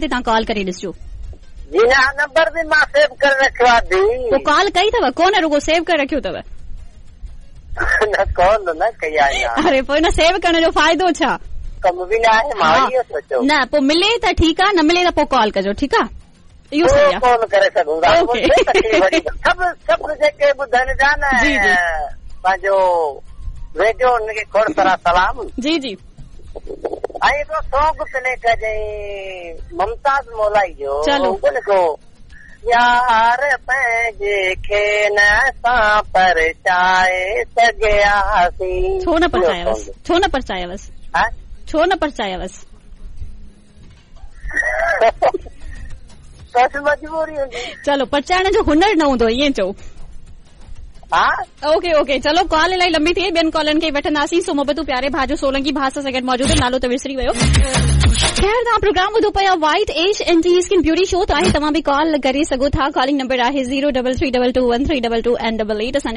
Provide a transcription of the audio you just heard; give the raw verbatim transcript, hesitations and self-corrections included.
تي توهان ڪال ڪري ڏسجو. جي نه، نمبر به مان سيو ڪري رکيو آهي ڌيءُ. پوءِ ڪال ڪئي اٿو ڪونه؟ رڳو سيو ڪري رکيو اٿو؟ نه، ڪال نه ڪئي آهي. اري پوءِ نه سيو ڪرڻ جو فائدو ڇا؟ ڪم به نه آهي، مان اهو سوچيو. نه، پوءِ ملي ته ٺيڪ آهي، نه ملي ته پوءِ ڪال ڪجو، ٺيڪ آهي؟ اهو صحيح آهي. ڪال ڪري سگهون ٿا. سڀ سڀ جيڪي ٻڌن ٿا نه پنهنجو ريڊيو، هن کي کوڙ سارا سلام. جي جي. ۽ هڪڙو سانگ پلي ڪجانءِ ممتاز مولائي جو. چلو. يار پنهنجي کي نه اسان پرچائي سگهياسين. ڇو نه پرچايوس؟ ڇو نه پرچايوس؟ ڇو نه پرچايوس؟ بس مجبوري هوندي. چلو، پرچائڻ جو هنر نه هوندو، ائين چئو. ها، اوڪي اوڪي. چلو، ڪال الاهي لمبي ٿي وئي، ٻين ڪالن کي وٺنداسين. سو محبتون پياري ڀاءُ جو سولنگي ڀاءُ سان گڏ موجود، نالو ته وسري ويو. خير، توهان پروگرام ٻڌو پيا white H N G skin beauty show. ته آهي، توهان به ڪال ڪري سگهو ٿا. ڪالنگ نمبر آهي zero double three double two one three double two and double eight. اسان